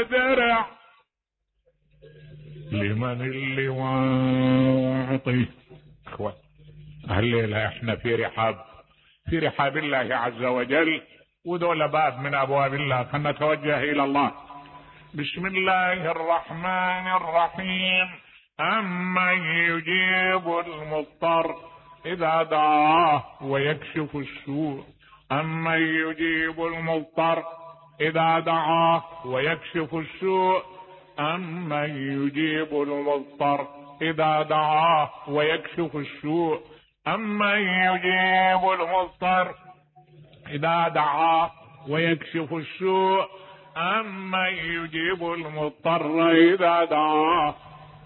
درع لمن اللي واعطي. اخوة هالليلة احنا في رحاب الله عز وجل، وذول باب من ابواب الله، فنتوجه الى الله. بسم الله الرحمن الرحيم. أمن يجيب المضطر إذا دعاه ويكشف السوء. أمن يجيب المضطر إذا دعاه ويكشف السوء. أمن يجيب المضطر إذا دعاه ويكشف السوء. أمن يجيب المضطر إذا دعاه ويكشف السوء. أمن يجيب المضطر إذا دعاه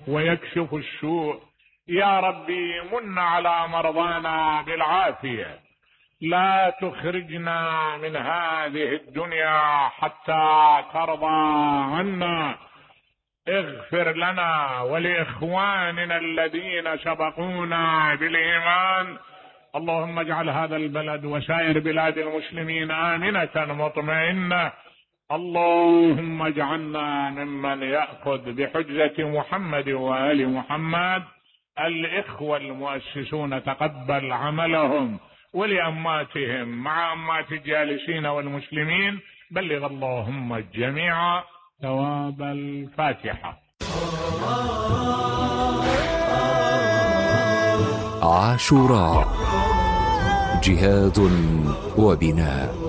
ويكشف السوء. يا ربي من على مرضانا بالعافية، لا تخرجنا من هذه الدنيا حتى ترضى عنا. اغفر لنا ولإخواننا الذين سبقونا بالإيمان. اللهم اجعل هذا البلد وسائر بلاد المسلمين آمنة مطمئنة. اللهم اجعلنا ممن يأخذ بحجة محمد وآل محمد. الإخوة المؤسسون تقبل عملهم، ولأماتهم مع أمات الجالسين والمسلمين بلغ اللهم الجميع ثواب الفاتحة. عاشوراء، جهاد وبناء.